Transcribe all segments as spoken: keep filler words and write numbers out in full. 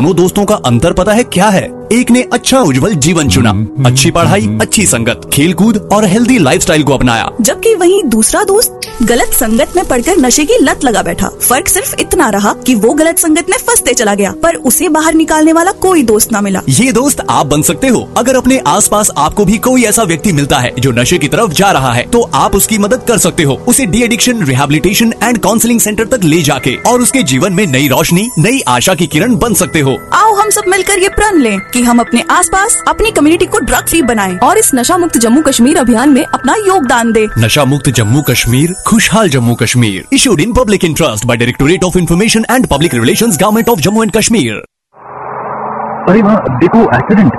दोनों दोस्तों का अंतर पता है क्या है? एक ने अच्छा उज्जवल जीवन चुना, अच्छी पढ़ाई, अच्छी संगत, खेलकूद और हेल्दी लाइफस्टाइल को अपनाया। जबकि वहीं दूसरा दोस्त गलत संगत में पड़कर नशे की लत लगा बैठा। फर्क सिर्फ इतना रहा कि वो गलत संगत में फंसते चला गया, पर उसे बाहर निकालने वाला कोई दोस्त ना मिला। ये दोस्त आप बन सकते हो अगर अपने आसपास आपको भी कोई ऐसा व्यक्ति मिलता है जो नशे की तरफ जा रहा है, तो आप उसकी मदद कर सकते हो। उसे de addiction rehabilitation and counselling centre तक ले जाके और उसके जीवन में नई रोशनी, नई आशा की किरण बन सकते हो। आओ हम सब मिलकर ये प्रण लें कि हम अपने आसपास, अपनी कम्युनिटी को ड्रग फ्री बनाएं और इस नशा मुक्त जम्मू कश्मीर अभियान में अपना योगदान दें। नशा मुक्त जम्मू कश्मीर, खुशहाल Jammu Kashmir. Issued in public interest by Directorate of Information and Public Relations, Government of Jammu and Kashmir. अरे वाह, देखो एक्सीडेंट।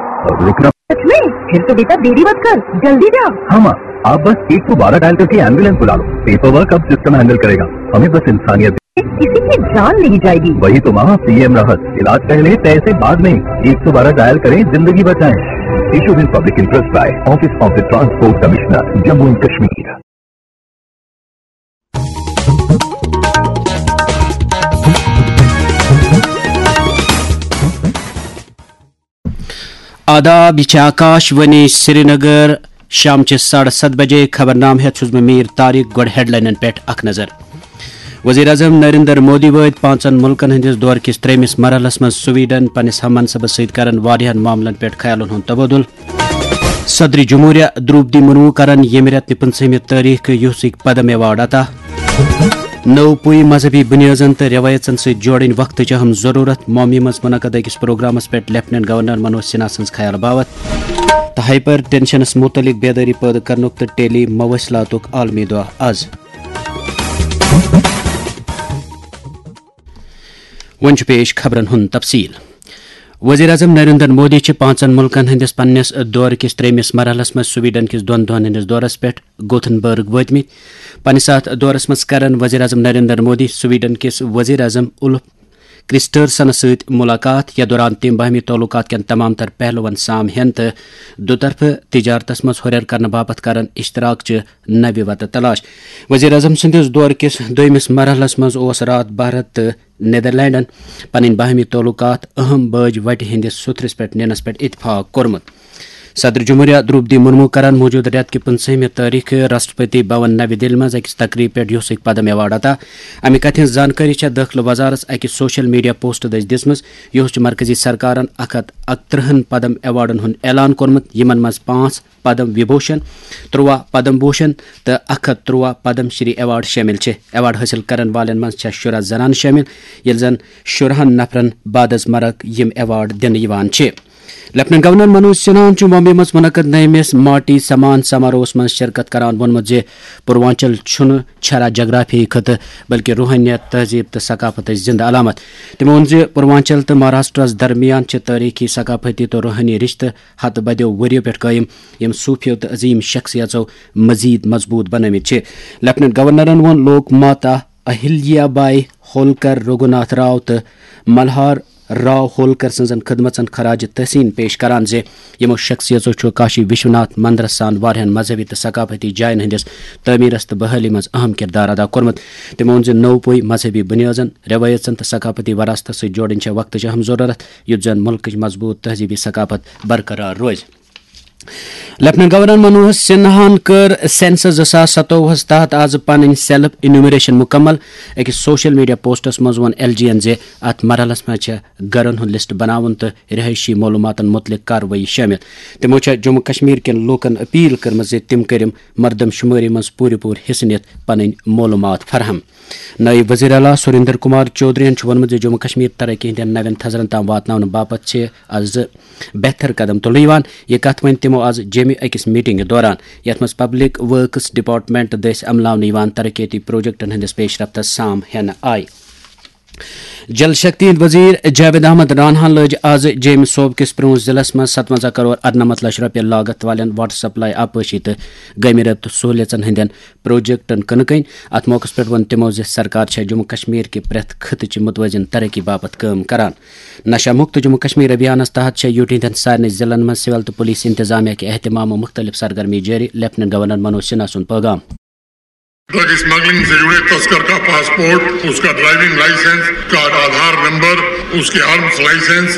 रुकना। सच में? फिर तो बेटा देरी मत कर, जल्दी जा। हाँ माँ, आप बस एक सौ बारह डायल करके एम्बुलेंस बुला लो। पेपर वर्क अब सिस्टम हैंडल करेगा। हमें बस इंसानियत। किसी की जान नहीं जाएगी। वही तो माँ, पीएम राहत। इलाज पहले, पैसे बाद में। एक सौ बारह डायल करें, जिंदगी बचाएं। Issued in public interest by Office of the Transport Commissioner, Jammu and Kashmir. آداب، یہ چھِ آکاش وانی سرینگر۔ شام چہِ ساڑٕ ستھ بجے خبرنامہٕ ہٮ۪تھ چھُس بہٕ میٖر طارق۔ گۄڈٕ ہیڈلاینن پٮ۪ٹھ اکھ نظر۔ وزیر اعظم نریندر مودی وٲتۍ پانٛژن مُلکن ہٕنٛدِس دورٕ کِس ترٛیٚیمِس مرحلس منٛز سویڈن، پننِس ہم منصبس سۭتۍ کرن واریاہن معاملن پٮ۪ٹھ خیالن ہُنٛد تبادلہٕ۔ صدر جمہوریہ درٛوپدی مرمو کرن ییٚمہِ رٮ۪تہٕ پٕنٛژٕہمہِ تٲریخہٕ یوسک پدم ایوارڈ عطا۔ نٔو پُے مذہبی بُنیٲدن تہٕ رٮ۪وٲیژن سۭتۍ جوڑٕنۍ وقتٕچ اہم ضروٗرت۔ ممبیہِ منٛز منعقد أکِس پروگرامس پٮ۪ٹھ لیفٹیننٹ گورنر منوج سنہا سٕنٛز خیال باوتھ۔ تہٕ ہائپر ٹینشنس مُتعلق بیدٲری پٲدٕ کرنُک تہٕ ٹیلی مواصلاتُک عالمی دۄہ از۔ وۄنۍ چھُ پیش خبرن ہُنٛد تفصیل۔ وزیر اعظم نریندر مودی چھِ پانٛژن مُلکن ہٕنٛدِس پننِس دورٕ کِس ترٛیٚیمِس مرحلس منٛز سویڈن کِس دۄن دۄہن ہٕنٛدِس دورس پٮ۪ٹھ گوتھنبرگ وٲتمٕتۍ۔ پننِس اَتھ دورس منٛز کرن وزیر اعظم نریندر مودی سویڈن کِس وزیر اعظم اُلف کرسٹرسنس سۭتۍ مُلاقات، یَتھ دوران تِم باہمی تعلقات کٮ۪ن تمام تر پہلوَن سام ہٮ۪ن تہٕ دُطرفہٕ تجارتس منٛز ہُرٮ۪ر کرنہٕ باپتھ کرن اشتراک چہِ نوِ وتہٕ تلاش۔ وزیر اعظم سٕنٛدِس دورٕ کِس دوٚیمِس مرحلس منٛز اوس راتھ بھارت تہٕ نیدرلینڈن پنٕنۍ باہمی تعلقات اہم بٲج وٹہِ ہٕنٛدِس سُتھرِس پٮ۪ٹھ نِنس پٮ۪ٹھ اتفاق کوٚرمُت۔ صدر جمہوریہ درٛوپدی مرمو کرن موجودٕ رٮ۪تہٕ کہِ پٕنٛژٕہمہِ تٲریخہٕ راشٹرپتی بھون نوِ دِلہِ منٛز أکِس تقریٖب پٮ۪ٹھ یوسک پدم ایوارڈ عطا۔ امہِ کتھِ ہٕنٛز زانکٲری چھےٚ دٲخلہٕ وزارتس أکِس سوشل میڈیا پوسٹ دٔسۍ دِژمٕژ۔ یُہُس چھُ مرکزی سرکارن اکھ ہتھ اکترٕہن پدم ایوارڈن ہُنٛد اعلان کوٚرمُت، یِمن منٛز پانٛژھ پدم وبھوشن، ترٛواہ پدم بھوشن تہٕ اکھ ہتھ ترٛواہ پدم شری ایوارڈ شٲمِل چھِ۔ ایوارڈ حٲصِل کرن والٮ۪ن منٛز چھےٚ شُراہ زنانہٕ شٲمِل، ییٚلہِ زن شُراہن نفرن بعد از مرگ یِم ایوارڈ دِنہٕ یِوان چھِ۔ لیفٹیننٹ گورنر منوج سنہاہن چھُ ممبئی منٛز منعقد نٔیمِس ماٹی سمان سماروہس منٛز شرکت کران ووٚنمُت زِ پوروانچل چھُنہٕ چھرا جغرافیہٕے خطہٕ، بلکہِ روحٲنیت، تہذیب تہٕ ثقافتٕچ زندٕ علامت۔ تٔمۍ ووٚن زِ پوروانچل تہٕ مہاراشٹرس درمیان چھِ تٲریخی، ثقافتی تہٕ روحٲنی رشتہٕ ہتہٕ بدیو ؤرِیو پٮ۪ٹھ قٲیِم، یِم صوٗفیو تہٕ عظیٖم شخصیژو مزید مضبوٗط بنٲومٕتۍ چھِ۔ لیفٹیننٹ گورنرن ووٚن لوک ماتا اہلیا بائی ہولکر، رگھوناتھ راو تہٕ ملہار راو ہولکر سٕنٛزن خدمژن خراج تحسین پیش کران زِ یِمو شخصیژو چھُ کاشی وشوناتھ مندرس سان واریاہن مذہبی تہٕ ثقافتی جاین ہٕنٛدِس تعمیرس تہٕ بحالی منٛز اہم کردار ادا کوٚرمُت۔ تٔمۍ ووٚن زِ نوٚو پُے مذہبی بُنیٲدن، رٮ۪وٲیژن تہٕ ثقافتی وراثتس سۭتۍ جوڑٕنۍ چھےٚ وقتٕچ اہم ضروٗرت، یُتھ زن مُلکٕچ مضبوٗط تہذیبی ثقافت برقرار روزِ۔ لیفٹیننٹ گورنر منوج سنہاہن کٔر سینسس زٕ ساس ستووُہس تحت از پنٕنۍ سیلف انیومریشن مکمل۔ أکِس سوشل میڈیا پوسٹس منٛز ووٚن ایل جی ین زِ اتھ مرحلس منٛز چھےٚ گرن ہُنٛد لسٹ بناوُن تہٕ رہٲیشی معلوماتن مُتعلق کاروٲیی شٲمِل۔ تِمو چھےٚ جموں کشمیر کٮ۪ن لوٗکن اپیل کٔرمٕژ زِ تِم کٔرِن مردم شُمٲری منٛز پوٗرٕ پوٗرٕ حصہٕ نِتھ پنٕنۍ معلومات فراہم۔ نٲیِب وزیر اعلیٰ سریندر کمار چودھرین چھُ ووٚنمُت زِ جموں کشمیر ترقی ہٕنٛدٮ۪ن نوٮ۪ن تھزرن تام واتناونہٕ باپتھ چھِ از بہتر قدم تُلنہٕ یِوان۔ یہِ کتھ ؤنۍ تِمو از جیمہِ أکِس میٹنگہِ دوران، یتھ منٛز پبلک ورکس ڈپارٹمنٹ دٔسۍ عملاونہٕ یِوان ترقیتی پروجیکٹن ہٕنٛدِس پیش رفتس سام ہٮ۪نہٕ آیہِ۔ جل شکتی ہٕنٛدۍ وزیر جاوید احمد راناہن لٲج از جیمہِ صوبہٕ کِس پرونٛژھ ضلعس منٛز ستونزہ کرور ارنمتھ لچھ رۄپیہِ لاگت والٮ۪ن واٹر سپلائی آبپاشی تہٕ گیمہِ رٲبطہٕ سہوٗلیژن ہٕنٛدٮ۪ن پروجیکٹن کٕنہٕ کٔنۍ۔ اتھ موقعس پٮ۪ٹھ ووٚن تِمو زِ سرکار چھےٚ جموں کشمیر کہِ پرٛٮ۪تھ خطہٕ چہِ متوازن ترقی باپتھ کٲم کران۔ نشہ مکت جموں کشمیر ابھیانس تحت چھےٚ یوٗٹی ہٕنٛدٮ۪ن سارنٕے ضلعن منٛز سول تہٕ پُلیٖس انتظامیہ کہِ اہتمام و مُختٔلِف سرگرمی جٲری، لیفٹیننٹ گورنر منوج سنہا سُنٛد پٲغام۔ ڈرگ اسمگلنگ سے جڑے تسکر کا پاسپورٹ، اس کا driving licence, card, Aadhaar number, उसके आर्म्स लाइसेंस